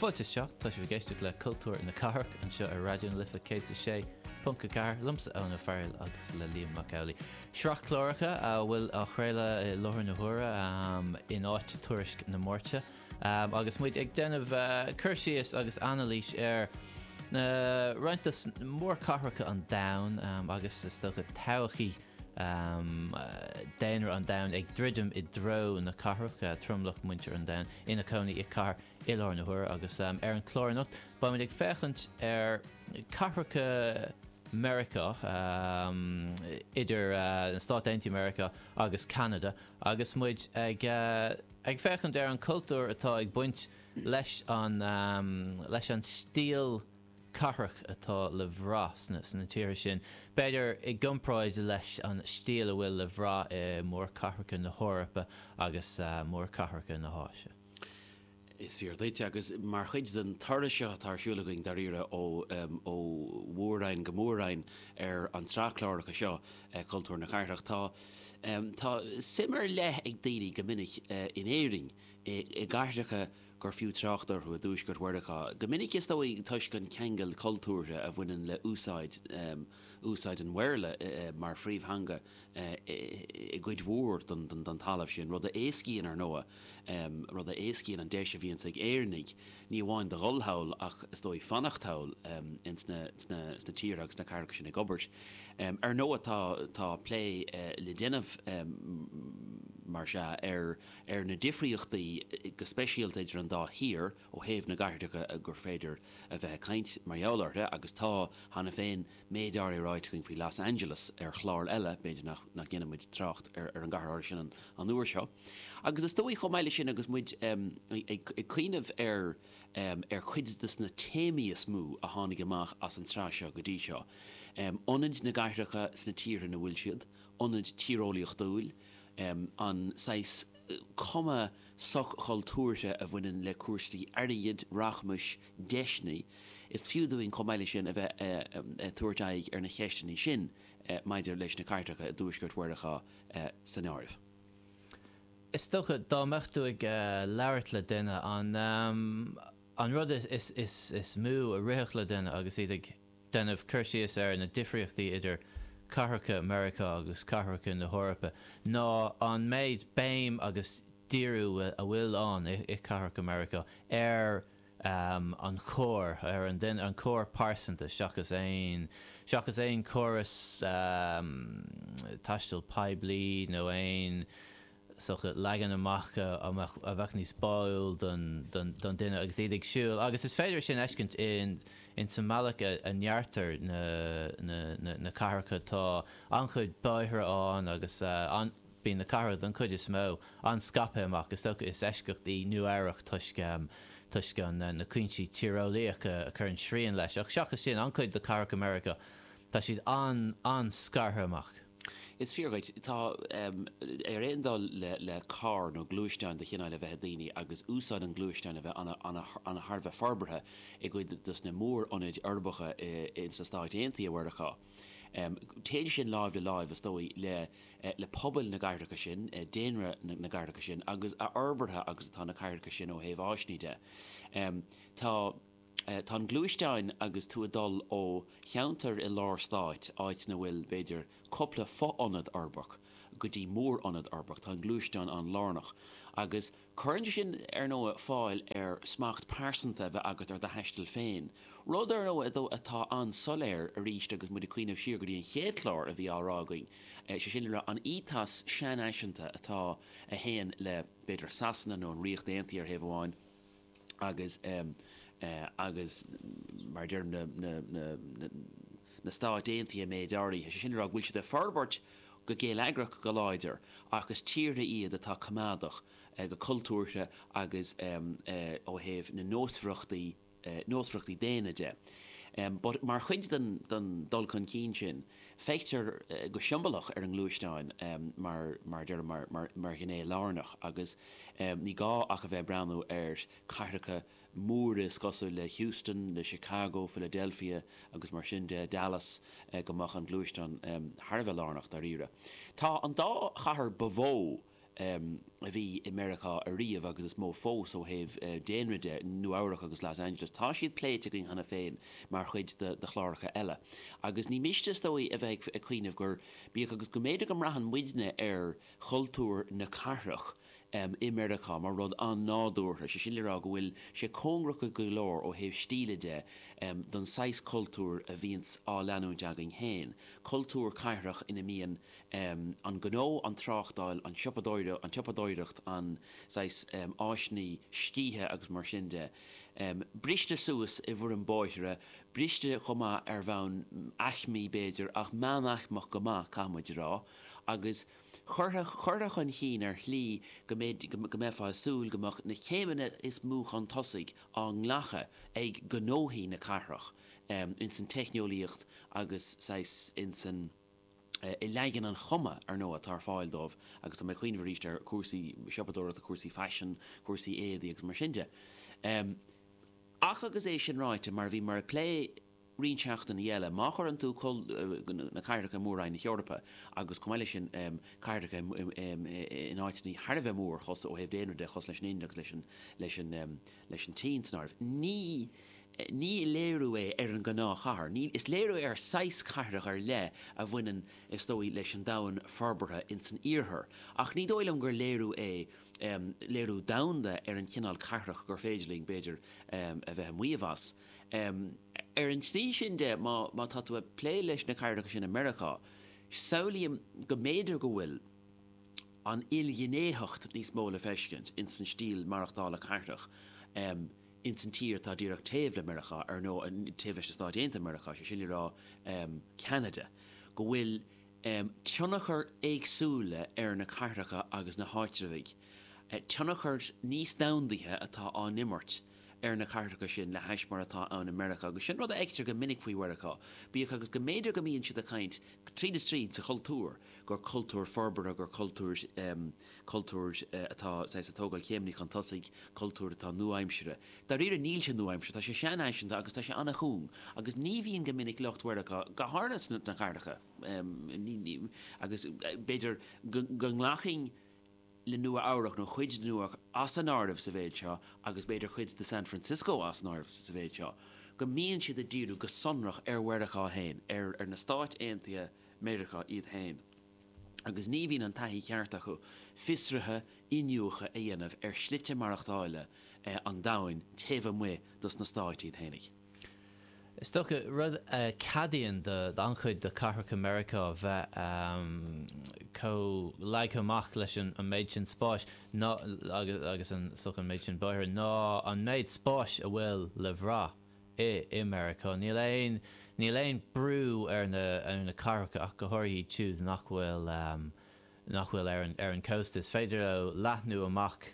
Fáilte isteach, tá sibh ag éisteacht le Cultúr na Cathrach anseo ar Raidió na Life 106.4, liomsa Eoin Ó Fearghail agus le Liam Mac Amhlaigh. Sraith cláracha a bhfuil á chraoladh i láthair na huaire in áit Tuairisc na Máirte agus muid ag déanamh cur síos agus anailís ar roinnt de mhórchathracha an domhain agus is dócha todhchaí daonra an domhain ag druidim i dtreo na cathrach, tromlach muintir an domhain ina cónaí i cathair i láthair na huaire agus ar an chlár anocht beimid ag féachaint ar cathracha Meiriceá, idir na Stáit Aontaithe Meiriceá agus Ceanada agus muid ag ag féachaint ar an cultúr atá ag baint leis an leis an stíl cathrach atá le bhrath sna tíortha sin, b'fhéidir i gcomparáid leis an stíl a bhfuil le bhrath i mórchathracha na hEorpa agus mórchathracha na hÁise. Is fíor duit, agus mar chuid den turas seo atá ar siúl againn dáiríre ó ó mhór-roinn go mór-roinn ar an tsraith cláracha seo, Cultúr na Cathrach, tá tá suim ar leith ag daoine go minic in Éirinn i gcathracha gur fiú trácht orthu i dTuaisceart Mheiriceá, go minic is dóigh toisc an ceangal cultúrtha a bhaineann le úsáid úsáid an Bhéarla mar phríomhtheanga i gcuid mhór den talamh sin, rud a éascaíonn, ar ndóigh, rud a éascaíonn an deis a bhíonns ag Éireannaigh ní amháin do dhul thall ach is dóigh fanacht thall ins na sna tíortha agus sna cathracha sin ag obair. Ar ndóigh tá tá plé le déanamh mar sea ar ar na difríochtaí, go speisialta idir an dá thír, ó thaobh na gcathracha gur féidir a bheith ag caint mar gheall orthu, agus tá, cheana féin, méid áirithe ráite againn faoi Los Angeles ar chlár eile, b'fhéidir nach ndéanfaidh muid trácht ar an gcathair áirithe sin an uair seo. Agus is dóigh, chomh maith leis sin, agus muid ag cuimhneamh ar ar chuid de na téamaí is mó a tháinig amach as an tsraith seo go dtí seo, ionaid na gcathracha sna tíortha ina bhfuil siad, ionad tíreolaíochtúil, an saghas cuma soch-chultúrtha a bhaineann le cúrsaí airgid, rachmais, deiseanna. Is fiú dúinn chomh maith leis sin a bheith ag tabhairt aghaidh ar na cheisteanna sin maidir leis na cathracha i dTuaisceart Mheiriceá san áireamh. Is dócha, dá mbeadh tú ag labhairt le duine, an rud is mó a rithfeadh le duine agus iad ag déanamh cur síos ar na difríochtaí idir cathracha Meiriceá agus cathracha na hEorpa ná an méid béim agus díriú a bhfuil ann i cathracha Meiriceá ar an charr, ar an duine, an carr pearsanta seachas aon, seachas aon chóras taistil poiblí nó aon sórt leagan amach a bheadh níos báúil don duine agus iad ag siúl agus is féidir sin a fheiscint in sa mbealach a ndeartar na cathracha. Tá an-chuid bóithre ann agus bíonn na cathracha don chuid is mó an-scaipthe amach. Is dócha is eisceacht í Nua Eabhrac toisc toisc na cúinsí tíreolaíocha a chuireann srian leis ach seachas sin an-chuid de chathracha Meiriceá tá siad an-an-scartha amach. Is fíor dhuit. Tá, ar aon dul le carr nó gluaisteán de chineál a bheith ag daoine agus úsáid an ghluaisteáin a bheith an-thar a bheith forbartha i gcuid dos na mór-ionaid uirbeacha ins na Stáit Aontaithe Mheiriceá. Téann sin láimh le láimh, is dóigh, le le pobail na gcathracha sin, daonra na gcathracha sin agus a fhorbartha agus atá na cathracha sin ó thaobh áiseanna de. Tá. Tá an gluaisteáin agus tú ag dul ó cheantar i lár stáit, áit ina bhfuil, b'fhéidir, cúpla fo-ionad uirbeach, go dtí mór-ionad uirbeach, tá an gluaisteán an-lárnach. Agus cuireann sin, ar ndóigh, fáil ar smacht pearsanta a bheith agat ar do thaisteal féin. Rud, ar ndóigh, atá an-soiléir arís agus muid ag cuimhneamh siar go dtí an chéad chlár a bhí á rá againn, sé sin le rá, an ethos seanfhaiseanta atá, a théann le, b'fhéidir, Sasana nó an Ríocht Aontaithe ar thaobh amháin, agus agus mar a deirim na na na na Stáit Aontaithe méid áirithe, sé sin le rá go bhfuil siad ag forbairt go geilleagrach go láidir ach is tíortha iad atá coimeádach go cultúrtha agus ó thaobh na nósmhaireachtaí nósmhaireachtaí daonna de. But mar chuid den den dul chun cinn sin feictear go siombalach ar an ngluaisteán mar mar a deirim mar mar mar ghné lárnach agus Ní gá ach a bheith ag breathnú ar cathracha móra is cosúil le Houston, le Chicago, Philadelphia agus mar sin de, Dallas, go mbeadh an gluaisteán thar a bheith lárnach dáiríre. Tá an dá chathair ba mhó a bhí i Meiriceá ariamh agus is mó fós ó thaobh daonra de, Nua Eabhrac agus Los Angeles. Tá siad pléite againn cheana féin mar chuid de chláracha eile. Agus ní miste is dóigh a bheith ag cuimhneamh gur, bíodh agus go mb'fhéidir go mbraitheann muidne ar chultúr na cathrach i Meiriceá mar rud an-nádúrtha, sé sin le rá go bhfuil sé cóngarach go leor ó thaobh stíle de don saghas cultúir a bhíonns á leanúint againn féin, cultúr cathrach ina mbíonn an gnó, an tráchtáil, an tsiopadóireacht, an tsiopadóireacht, an saghas áiseanna scíthe agus mar sin de, briste suas i bhfoirm bóithre, briste chomh maith ar bhonn aicmí b'fhéidir, ach meánaicmeach go maith, caithfidh muid a rá, agus curtha, curtha chun chinn ar shlí go mbeidh, go mbeifeá ag súil go mbeadh na céimeanna is mó chun tosaigh á nglacadh ag gnóthaí na cathrach ins an teicneolaíocht agus saghas ins an. i leagan an chuma, ar ndóigh, atá ar fáil dóibh, agus tá mé ag cuimhneamh arís ar chúrsaí siopadóireachta, cúrsaí faisin, cúrsaí éadaí agus mar sin de. Ach agus é sin ráite, mar a bhíomar ag plé roinnt seachtainí eile, má chuireann tú na cathracha i Mór-Roinn na hEorpa agus chomh maith leis sin cathracha in áiteanna thar a bheith mór ó thaobh daonra de, cosúil leis an Ind agus leis an leis an tSín san áireamh, ní Ní léiriú é ar an ngnáthchathair. Ní, is léiriú é ar saghas cathrach ar leith a bhaineann, is dóigh, leis an domhan forbartha ins an iarthar. Ach ní dóigh liom gur léiriú é, léiriú domhanda ar an chineál cathrach gur féidir linn, b'fhéidir, a bheith ag maíomh as. Ar an tslí sin de, má, má tá tú ag plé leis na cathracha sin i Meiriceá, samhlaím go mb'fhéidir go bhfuil an ilghnéitheacht níos mó le feiscint ins an stíl maireachtála cathrach. ins an tír atá díreach taobh le Meiriceá, ar ndóigh, taobh leis na Stáit Aontaithe Meiriceá, sé sin le rá Ceanada, go bhfuil tionchar éagsúla ar na cathracha agus na háitreabhaigh, tionchar níos domhandaithe atá á n-imirt ar na cathracha sin le hais mar atá ann i Meiriceá. Agus sin rud a fheictear go minic faoi Mheiriceá, bíodh agus go mb'fhéidir go mbíonn siad ag caint, tríd is tríd, sa chultúr, gur cultúr forbartha, gur cultúr. cultúr atá saghas ag tógáil céimeanna chun tosaigh, cultúr atá nua-aimseartha. Dáiríre níl sé nua-aimseartha, tá sé seanfhaiseanta agus tá sé an-chúng agus ní bhíonn go minic lucht Mheiriceá, go háirithe sna cathracha, agus b'fhéidir go nglacfainn le Nua Eabhrac nó cuid de Nua Eabhrac as an áireamh sa mhéid seo agus b'fhéidir cuid de San Francisco as an áireamh sa mhéid seo, go mbíonn siad ag díriú go sonrach ar Mheiriceá féin, ar na Stáit Aontaithe Meiriceá iad féin. agus ní bhíonn an taithí cheart acu fiosruithe, iniúchadh a dhéanamh ar shlite maireachtála an domhain taobh amuigh dos na Stáit iad fhéinig. Is dócha, rud a cheadaíonn d'an-chuid de chathracha Meiriceá bheith chomh leagtha amach leis an méid sin spáis ná, agus an, is dócha an méid sin bóithre, ná an méid spáis a bhfuil le bhrath. i i Meiriceá. Níl aon níl aon brú ar na ar na cathracha ach go háirithe iad siúd nach bhfuil nach bhfuil ar an ar an cósta. Is féidir leo leathnú amach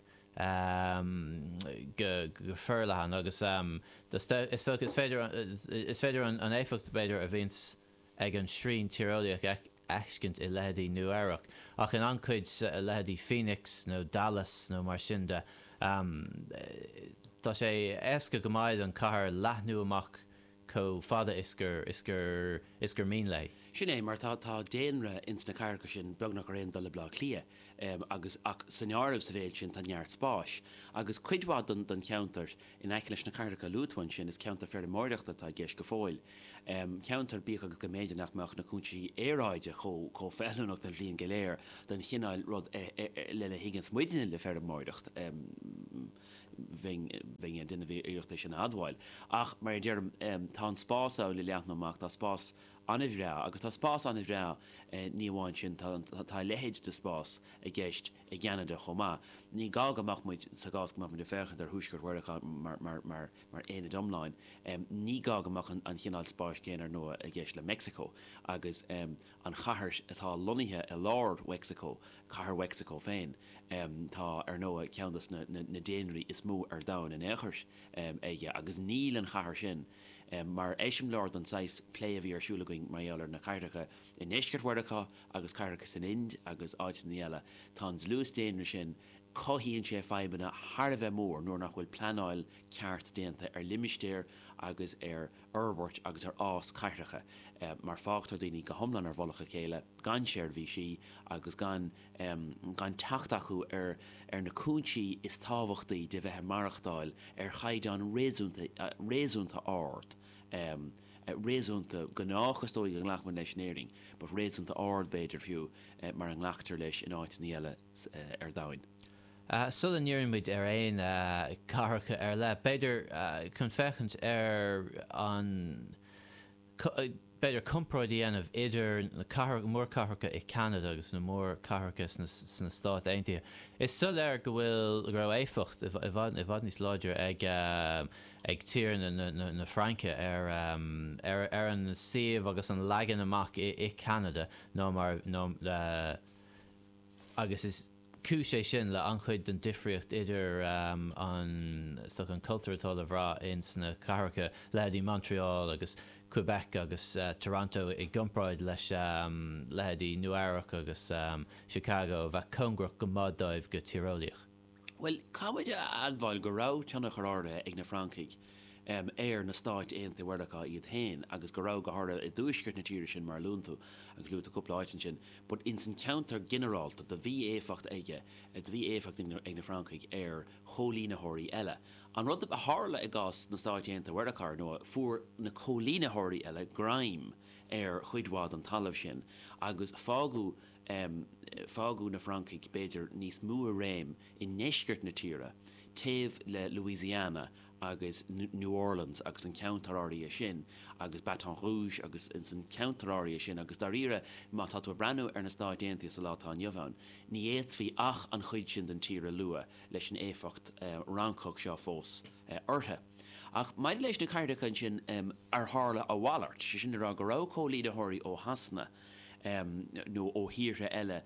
go go forleathan agus is dócha is féidir is féidir an an éifeacht b'fhéidir a bhíonns ag an srian tíreolaíoch a fheiscint i leithéidí Nua Eabhrac, ach in an-chuid leithéidí Phoenix nó Dallas nó mar sin de, tá sé éasca go maith don chathair leathnú amach chomh fada is gur is gur is gur mian léi. Sin é, mar tá tá daonra ins na cathracha sin beagnach ar aon dul le Baile Átha Cliath, agus ach san áireamh sa mhéid sin tá neart spáis, agus cuid mhaith den den cheantar In aice leis na cathracha a luaigh tú ansin, is ceantar feirmeoireachta atá i gceist go fóill. Ceantar, bíodh agus go mb'fhéidir nach mbeadh na cúinsí aeráide chomh feiliúnach don bhliain go léir don chineál rud lena thuigeanns muidne le feirmeoireacht. Bheinn ag déanamh iarracht é sin a admháil. Ach, mar a deirim, tá an spás ann le leathnú amach, tá spás an-bhreá, agus tá spás an-bhreá, ní amháin sin, tá a leithéid de spás i gceist i gCeanada chomh maith. Ní gá go mbeadh muid, sa gcás go mbeadh muid ag féachaint ar Thuaisceart Mheiriceá mar aonad iomlán, ní gá go mbeadh an chineál spáis céanna ar ndóigh i gceist le Meicsiceo agus an chathair atá lonnaithe i lár Mheicsiceo, cathair Mheicsiceo féin. Tá, ar ndóigh, ceann de na daonraí is mó ar domhan in aon chor aige agus níl an chathair sin mar eiseamláir don saghas plé a bhí ar siúl againn mar gheall ar na cathracha i ndeisceart Mheiriceá agus cathracha san Ind agus áiteanna eile, tá an dlús daonra sin Cothaíonn sé fadhbanna thar a bheith mór nuair nach bhfuil pleanáil ceart déanta ar limistéir agus ar fhorbairt agus ar fhás cathracha mar fágtar daoine go hiomlán ar mhullach a chéile gan seirbhísí agus gan gan teacht acu ar ar na cúinsí is tábhachtaí de bheith ag maireachtáil ar chaighdeán réasúnta réasúnta ard réasúnta gnách is dóigh a nglacfaimid leis in Éirinn but réasúnta ard b'fhéidir fiú mar a nglactar leis in áiteanna eile ar domhain. Sula ndíríonn muid ar aon cathracha ar leith, b'fhéidir chun féachaint ar an, b'fhéidir comparáid a dhéanamh idir na mórchathracha i Ceanada agus na mórchathracha sna Stáit Aontaithe. Is soiléir go bhfuil, go raibh éifeacht i bhfad, i bhfad níos láidre ag, ag tír na Fraince ar, ar an suíomh agus an leagan amach i Ceanada ná mar, ná, agus is cúis é sin le an-chuid den difríocht idir an, is dócha, an cultúr atá le bhrath ins na cathracha, leithéidí Montreal agus Quebec agus Toronto i gcomparáid leis leithéidí Nua Eabhrac agus Chicago a bheadh cóngarach go maith dóibh go tíreolaíoch. Bhuel, caithfimid a admháil go raibh tionchar áirithe ag na Francaigh ar na Stáit Aontaithe Mheiriceá iad féin agus go raibh, go háirithe i dtuaisceart na tíre sin mar a luann tú, agus luaigh tú cúpla áit ansin, but ins an cheantar ginearálta do bhí éifeacht aige, do bhí éifeacht ag na Francaigh ar choilínitheoirí eile. An rud a tharla i gcás na Stáit Aontaithe Mheiriceá, ar ndóigh, fuair na coilínitheoirí eile greim ar chuid mhaith den talamh sin agus fágadh, fágadh na Francaigh b'fhéidir níos mó i réim i ndeisceart na tíre, taobh le Louisiana agus New Orleans agus an ceantar áirithe sin agus Baton Rouge agus ins an ceantar áirithe sin agus dáiríre má tá tú ag breathnú ar na Stáit Aontaithe sa lá atá inniu ann ní fhéadfaí ach an chuid sin den tír a lua leis an éifeacht Fhrancach seo fós orthu. Ach maidir leis na cathracha ansin ar tharla a mhalairt, sé sin le rá go raibh coilínitheoirí ó Shasana nó ó thíortha eile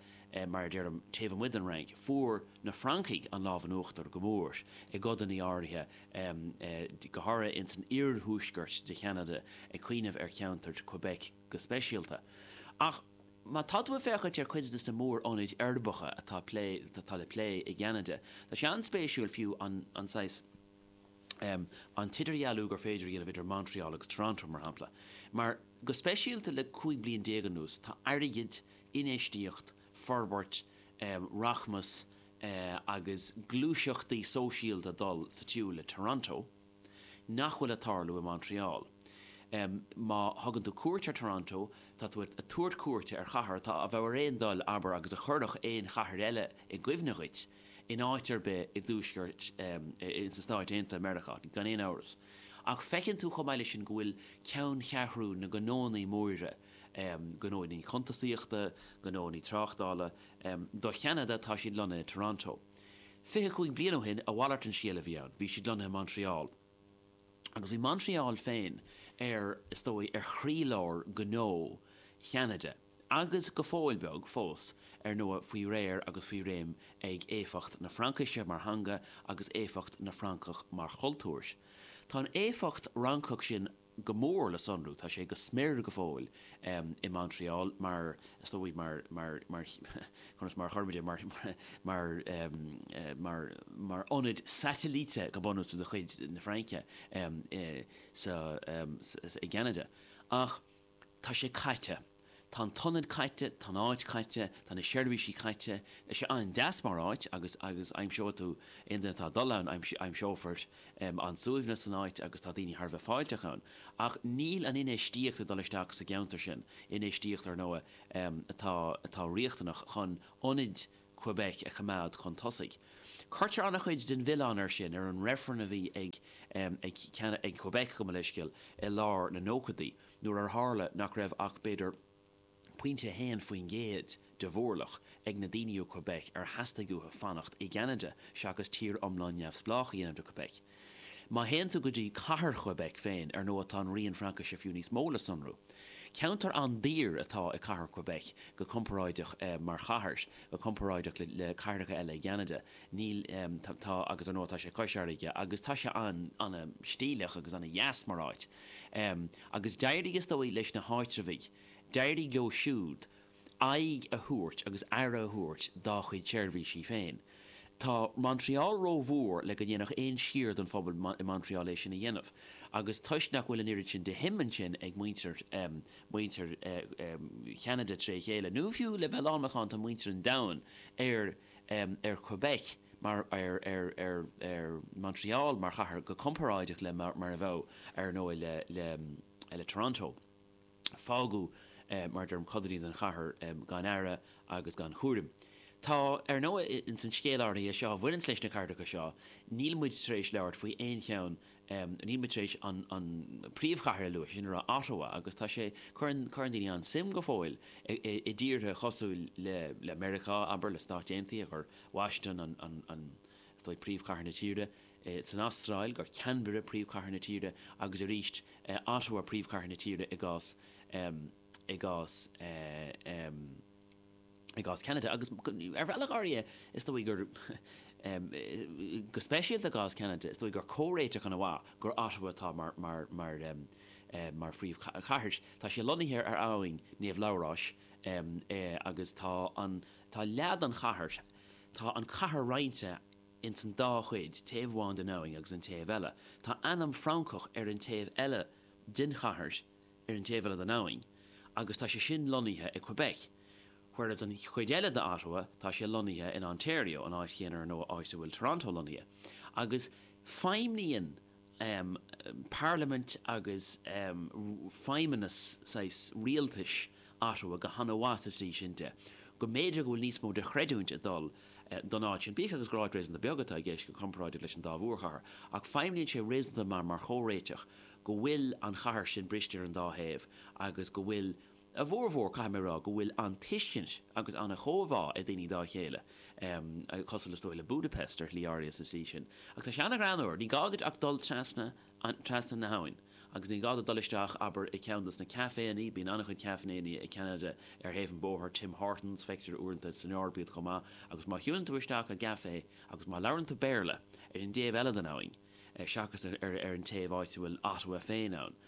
mar a deirim taobh amuigh den Fhrainc, fuair na Francaigh an lámh in uachtar go mór i gcodanna áirithe, go háirithe ins an iarthuaisceart de Cheanada, ag cuimhneamh ar cheantar Quebec go speisialta. Ach má tá tú ag féachaint ar chuid de na mór-ionaid uirbeacha atá atá le plé i gCeanada, tá sé an-spéisiúil fiú an saghas, an t-idirdhealú gur féidir a dhéanamh idir Montreal agus Toronto, mar shampla. Mar, go speisialta le 15 bliain anuas, tá airgead, infheistíocht, forbairt, rachmas agus gluaiseachtaí sóisialta ag dul sa tsiúl le Toronto nach bhfuil ag tarlú i Montreal. Má thugann tú cuairt ar Toronto, tá tú ag tabhairt cuairte ar chathair atá a bheadh ar aon dul, abair, agus a chuirfeadh aon chathair eile i gcuimhne dhuit in áit ar bith i dtuaisceart, sna Stáit Aontaithe Meiriceá, gan aon amhras. Ach feiceann tú chomh maith leis sin go bhfuil ceanncheathrú na ngnónnaí móra, gnónnaí cuntasaíochta, gnónnaí tráchtála, do Cheanada, tá siad lonnaithe i Toronto. 25 bliain ó shin, a mhalairt an scéal a bhí ann, bhí siad lonnaithe i Montreal. Agus bhí Montreal féin ar, is dóigh, ar chroílár gnó Cheanada, agus go fóill beag fós, ar ndóigh, faoi réir agus faoi réim ag éifeacht na Fraincise mar theanga agus éifeacht na Francach mar chultúr. Tá an éifeacht Fhrancach sin go mór le sonrú. Tá sé go smior go fóill i Montreal mar, is dóigh, mar, mar, mar, conas mar a chuirfimid é, mar, mar, mar, mar ionad satailíte go bunúsach de chuid na Fraince sa, i gCeanada. Ach tá sé caite. Tá an t-ionad caite, tá an áit caite, tá na seirbhísí caite. Tá sé an-deas mar áit agus agus aimseoidh tú, aon duine atá ag dul ann, aimseofar an-suaimhneas san áit agus tá daoine thar a bheith fáilteach ann. Ach níl an infheistíocht ag dul isteach sa gceantar sin, infheistíocht, ar ndóigh, atá atá riachtanach chun ionaid Quebec a choimeád chun tosaigh. Cuirtear an-chuid den mhilleán air sin ar an reifreann a bhí ag ag ag Quebec, gabh mo leithscéal, i lár na nóchaidí. nuair ar tharla nach raibh ach b'fhéidir pointe 1% de mhórlach ag na daoine ó Quebec ar theastaigh uathu fanacht i gCeanada seachas tír iomlán neamhspleách a dhéanamh de Quebec. Má théann tú go dtí cathair Quebec féin, ar ndóigh tá an rian Fraincise fiú níos mó le sonrú. Ceantar an-daor atá i cathair Quebec go comparáideach mar chathair, go comparáideach le cathracha eile i gCeanada. Níl, tá, agus ar ndóigh tá sé cois fharraige agus tá sé an-stíleach agus an-dheas mar áit. Agus d'éirigh, is dóigh, leis na háitreabhaigh, d'éirigh leo siúd aghaidh a thabhairt agus aire a thabhairt dá chuid seirbhísí féin. Tá Montreal rómhór le go ndéanfadh aon sciar den phobal i Montreal é sin a dhéanamh, agus toisc nach bhfuil an oiread sin de shuim ansin ag muintir muintir Cheanada tré chéile, nó fiú le bheith lánmhacánta muintir an domhain ar ar Quebec mar ar ar ar ar Montreal mar chathair go comparáideach le mar a bheadh ar ndóigh le le le Toronto. Fágadh, mar a deirim, codanna den chathair gan aire agus gan chúram. Tá, ar ndóigh, ins an scéal áirithe seo a bhaineanns leis na cathracha seo, níl muid tar éis labhairt faoi aon cheann, níl muid tar éis an príomhchathair a lua, sin a rá Ottawa, agus tá sé, cuireann, cuireann daoine an-suim go fóill i dtíortha cosúil le, le Meiriceá, abair, le Stáit Aontaithe, gur Washington an, an, an, is dóigh, príomhchathair na tíre, san Astráil, gur Canberra príomhchathair na tíre, agus arís, Ottawa príomhchathair na tíre i gcás, i gcás, i gcás Ceanada. Agus ar bhealach áirithe, is dóigh gur, go speisialta i gcás Ceanada, is dóigh gur comhréiteach ana mhaith gur Ottawa atá mar, mar, mar, mar phríomhchathair. Tá sé lonnaithe ar abhainn Naomh Labhráis agus tá an, tá leath den chathair, tá an chathair roinnte ins an dá chuid, taobh amháin den abhainn agus an taobh eile. Tá ainm Francach ar an taobh eile den chathair, ar an taobh eile den abhainn, agus tá sé sin lonnaithe i Quebec. Whereas an chuid eile de Ottawa, tá sé lonnaithe in Ontario, an áit chéanna ar ndóigh áit a bhfuil Toronto lonnaithe. Agus feidhmníonn parlaimint agus feidhmeannas saghas rialtais Ottawa go han-mhaith sa tslí sin de, go mb'fhéidir go bhfuil níos mó de chreidiúint ag dul don áit sin, bíodh agus gur áit réasúnta beag atá i gceist go comparáideach leis an dá mhórchathair, ach feidhmníonn sé réasúnta maith mar chomhréiteach go bhfuil an chathair sin briste ar an dá thaobh agus go bhfuil, a bhformhór, caithfidh mé a rá, go bhfuil an-tuiscint agus an-chomhbhá ag daoine dá chéile, cosúil is dóigh le Budapest ar shlí áirithe sa tslí sin. Ach tá sé an-ghreannmhar, ní gá duit ach dul trasna trasna na habhann agus ní gá duit dul isteach, abair, i gceann dos na caiféannaí, bíonn an-chuid caiféannaí i gCeanada ar thaobh an bhóthair, Tim Hortons, feictear uaireanta san Eoraip iad chomh maith, agus má shiúlann tú isteach i gcaifé agus má labhrann tú Béarla ar an dtaobh eile den abhainn, seachas ar an taobh áit a bhfuil Ottawa féin ann.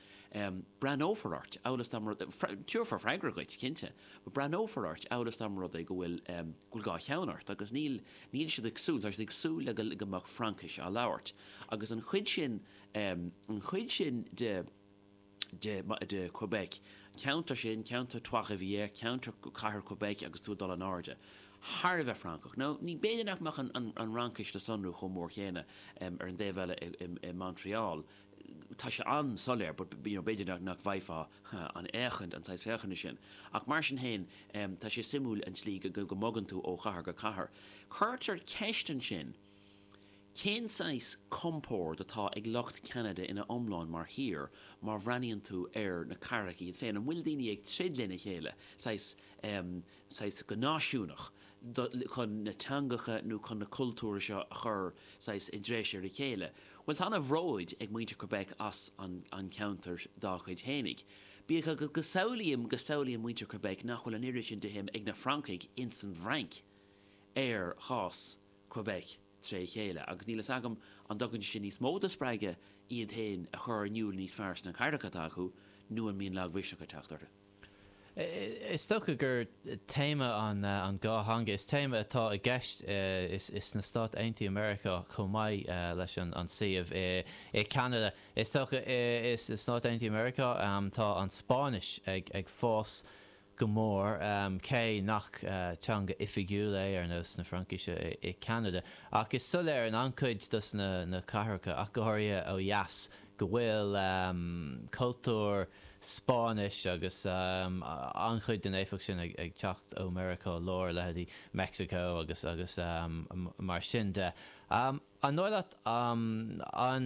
Breathnófar ort, amhail is dá mba rud, tabharfar freagra dhuit, cinnte, but breathnófar ort amhail is dá mba rud é go bhfuil, go bhfuil dhá cheann ort agus níl, níl siad ag súil, tá siad ag súil le go, go mbeadh Fraincis á labhairt. Agus an chuid sin, an chuid sin de, de, de Quebec, ceantar sin, ceantar Trois-Rivières, ceantar cathair Quebec agus tú ag dul in airde, thar a bheith Francach. Now, ní, b'fhéidir nach mbeadh an, an, an Fhraincis le sonrú chomh mór chéanna ar an dtaobh eile i, i, i Montreal. Tá sé an-soiléir, but, you know, b'fhéidir nach, nach bhfaighfeá an fhéachaint, an saghas féachana sin. Ach mar sin féin, tá sé suimiúil an tslí go, go, go mbogann tú ó chathair go cathair. Cuirtear ceist ansin, Cén saghas compord atá ag lucht Cheanada ina iomlán mar thír má bhreathnaíonn tú ar na cathracha iad féin? An bhfuil daoine ag troid lena chéile, saghas, em, saghas go náisiúnach, do, chun na teangacha nó chun na cultúir seo a chur, saghas, i dtreis ar a chéile? Bhuel, tá ana-bhróid ag muintir Quebec as an, an ceantar dá chuid fhéinig. Bíodh agus go samhlaím, go samhlaíonn muintir Quebec nach bhfuil an oiread sin de shuim ag na Francaigh ins an bhFrainc ar chás Quebec tré chéile, agus níl fhios agam an dtugann sé sin níos mó de spreagadh iad féin a chur in iúl níos fearr sna cathracha atá acu, nó an mbíonn lagmhisneach ag teacht orthu. Is dócha gur téama an dhá theanga, is téama atá i gceist sna Stáit Aontaithe Meiriceá chomh maith leis an suíomh i Ceanada. Is dócha sna Stáit Aontaithe Meiriceá tá an Spáinnis ag fás go mór, cé nach teanga oifigiúil é ar nós na Fraincise i Ceanada. Ach is soiléir in an-chuid dos na cathracha, ach go háirithe ó dheas, go bhfuil cultúr Spáinnis agus an-chuid den éifeacht sin ag teacht ó Mheiriceá Láir, leithéidí Meicsiceo agus agus mar sin de. An dóigh leat an.